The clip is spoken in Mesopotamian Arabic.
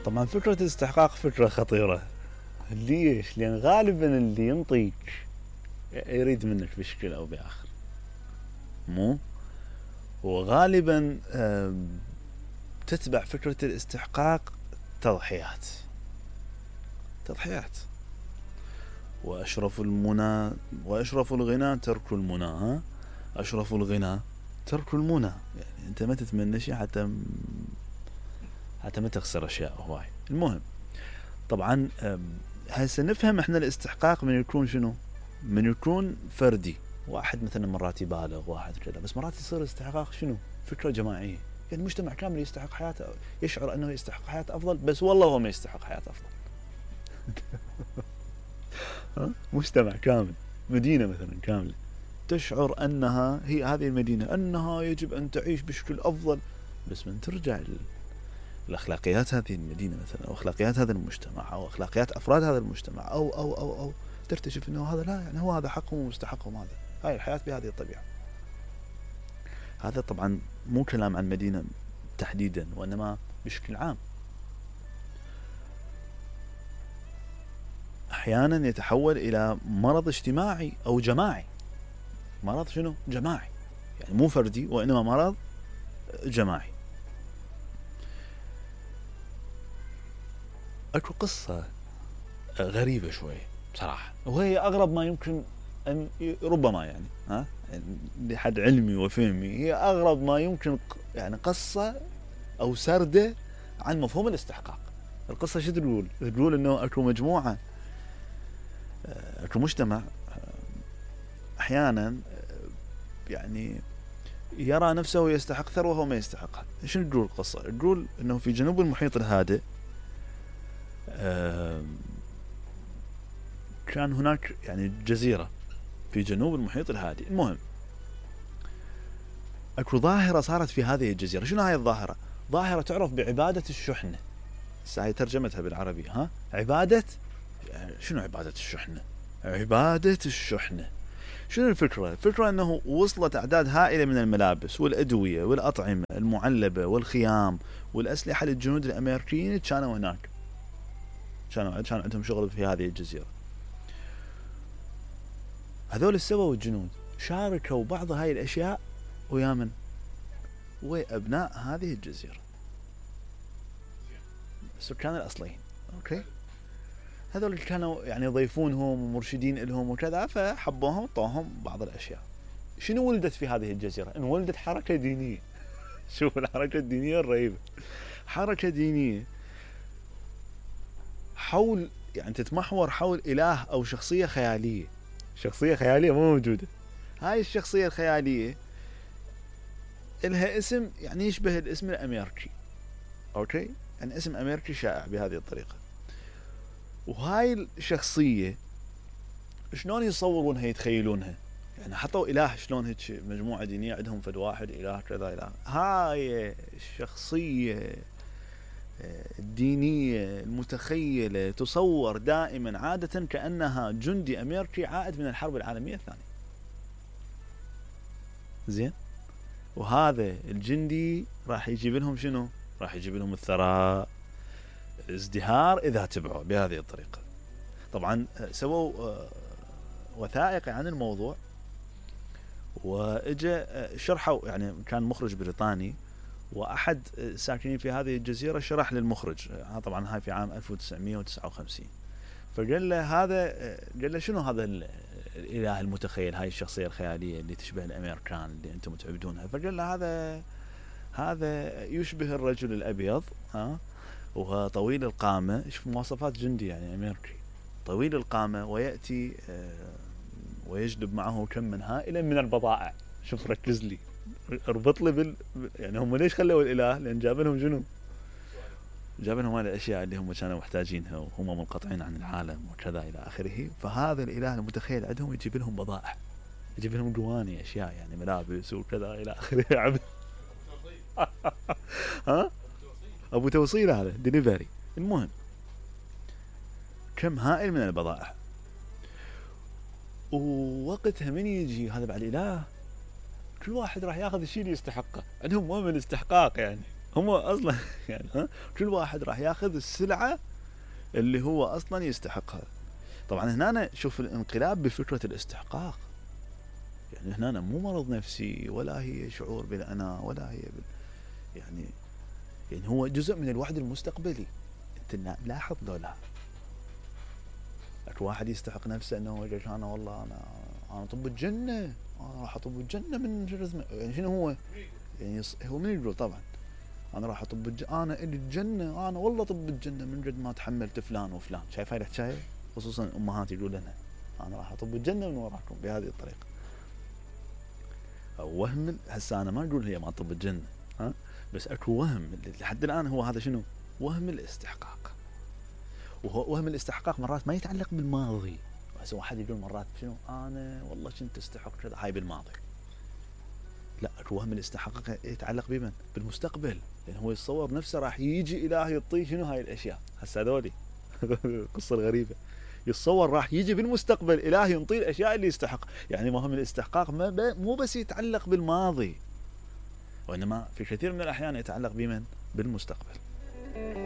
طبعا فكرة الاستحقاق فكرة خطيرة. ليش؟ لأن غالبا اللي ينطيك يريد منك بشكل أو بآخر، مو؟ وغالبا تتبع فكرة الاستحقاق تضحيات. وأشرف المنى وأشرف الغنى ترك المنى، ها؟ أشرف الغنى ترك المنى، يعني أنت ما تتمنى شيء حتى ما تخسر أشياء هواي. المهم طبعا هسه نفهم احنا الاستحقاق من يكون شنو؟ من يكون فردي، واحد مثلا مرات يبالغ، واحد كذا، بس مرات يصير الاستحقاق شنو؟ فكرة جماعية، يعني المجتمع كامل يستحق حياته، يشعر انه يستحق حياة افضل، بس والله هو ما يستحق حياة افضل. مجتمع كامل، مدينة مثلا كاملة تشعر انها هي هذه المدينة انها يجب ان تعيش بشكل افضل، بس من ترجع الاخلاقيات هذه المدينة مثلا، او اخلاقيات هذا المجتمع، او اخلاقيات افراد هذا المجتمع، او تكتشف انه هذا لا، يعني هو هذا حقهم ومستحقهم، هذا هاي الحياة بهذه الطبيعة. هذا طبعا مو كلام عن مدينة تحديدا، وانما بشكل عام. احيانا يتحول الى مرض اجتماعي او جماعي. مرض شنو؟ جماعي، يعني مو فردي وانما مرض جماعي. اكو قصة غريبة شوي بصراحة، وهي اغرب ما يمكن ان ربما يعني لحد علمي وفهمي هي اغرب ما يمكن، يعني قصة او سردة عن مفهوم الاستحقاق. القصة شو تقول؟ تقول انه اكو مجموعة، اكو مجتمع احيانا يعني يرى نفسه يستحق ثروة وهو ما يستحقها. شنو تقول القصة؟ تقول انه في جنوب المحيط الهادئ كان هناك يعني جزيرة في جنوب المحيط الهادئ. المهم اكو ظاهرة صارت في هذه الجزيرة. شنو هاي الظاهرة؟ ظاهرة تعرف بعبادة الشحنة. هاي ترجمتها بالعربي، عبادة، شنو عبادة الشحنة؟ عبادة الشحنة. شنو الفكرة؟ الفكرة انه وصلت اعداد هائلة من الملابس والادوية والاطعمة المعلبة والخيام والاسلحة للجنود الامريكيين كانوا هناك، كان عندهم شغل في هذه الجزيرة. هذول السبب الجنود شاركوا بعض هاي الاشياء ويا من؟ وابناء هذه الجزيرة، السكان الاصليين. اوكي، هذول كانوا يعني يضيفونهم ومرشدين لهم وكذا، فحبوهم وطوهم بعض الاشياء. شنو ولدت في هذه الجزيرة؟ ان ولدت حركة دينية. شوف الحركة الدينية الرهيبة، حركة دينية حول، يعني تتمحور حول اله او شخصية خيالية. شخصية خيالية مو موجودة. هاي الشخصية الخيالية لها اسم يعني يشبه الاسم الامريكي. اوكي، يعني اسم امريكي شائع بهذه الطريقة. وهاي الشخصية شلون يصورونها يتخيلونها؟ يعني حطوا اله شلون هيك مجموعة دينية عندهم فد واحد اله كذا اله. هاي الشخصية الدينية المتخيلة تصور دائما عادة كأنها جندي امريكي عائد من الحرب العالمية الثانية. زين، وهذا الجندي راح يجيب لهم شنو؟ راح يجيب لهم الثراء، الازدهار اذا تبعوا بهذه الطريقة. طبعا سووا وثائقي عن الموضوع، واجا شرحوا، يعني كان مخرج بريطاني واحد ساكنين في هذه الجزيرة شرح للمخرج، طبعا هاي في عام 1959. فقال له قال له شنو هذا الاله المتخيل، هاي الشخصية الخيالية اللي تشبه الامريكان اللي انتم تعبدونها؟ فقال له هذا يشبه الرجل الابيض، وهو طويل القامة، شوف مواصفات جندي يعني امريكي، طويل القامة، ويأتي ويجلب معه كما هائلا من البضائع. شوف ركز لي، اربط لي يعني هم ليش خلوا الاله؟ لان جاب لهم شنو؟ جاب لهم هذه الاشياء اللي هم كانوا محتاجينها وهم منقطعين عن العالم وكذا الى اخره. فهذا الاله المتخيل عندهم يجيب لهم بضائع، يجيب لهم جواني اشياء يعني ملابس وكذا الى اخره. عبد ابو توصيل، هذا ديليفري. المهم كم هائل من البضائع. ووقتها من يجي هذا بعد الاله، كل واحد راح ياخذ الشيء اللي يستحقه. عندهم مو من الاستحقاق، يعني هم اصلا يعني كل واحد راح ياخذ السلعه اللي هو اصلا يستحقها. طبعا هنا شوف الانقلاب بفكره الاستحقاق، يعني هنا مو مرض نفسي ولا هي شعور بالانا ولا هي يعني هو جزء من الوعد المستقبلي. انت ملاحظ لا اكو واحد يستحق نفسه انه هو انا والله انا طب الجنه، انا راح اطب الجنه من يعني شنو هو؟ يعني هو من يقول طبعا انا راح اطب انا الي الجنه، انا والله طب الجنه من قد ما تحملت فلان وفلان. شايف هاي الحكايه؟ خصوصا امهات يقولوا لنا انا راح اطب الجنه من وراكم بهذه الطريقه. وهم هسه انا ما اقول هي ما طب الجنه، بس اكو وهم لحد الان هو هذا شنو؟ وهم الاستحقاق. وهو وهم الاستحقاق مرات ما يتعلق بالماضي. هسه واحد يقول مرات شنو انا والله كنت استحق كذا، هاي بالماضي. لا اكو وهم الاستحقاق يتعلق بمن؟ بالمستقبل، لان هو يتصور نفسه راح يجي اله يعطيه شنو هاي الاشياء. هسه هذولي القصه الغريبه، يتصور راح يجي بالمستقبل اله ينطيه الاشياء اللي يستحق. يعني وهم الاستحقاق مو بس يتعلق بالماضي، وانما في كثير من الاحيان يتعلق بمن؟ بالمستقبل.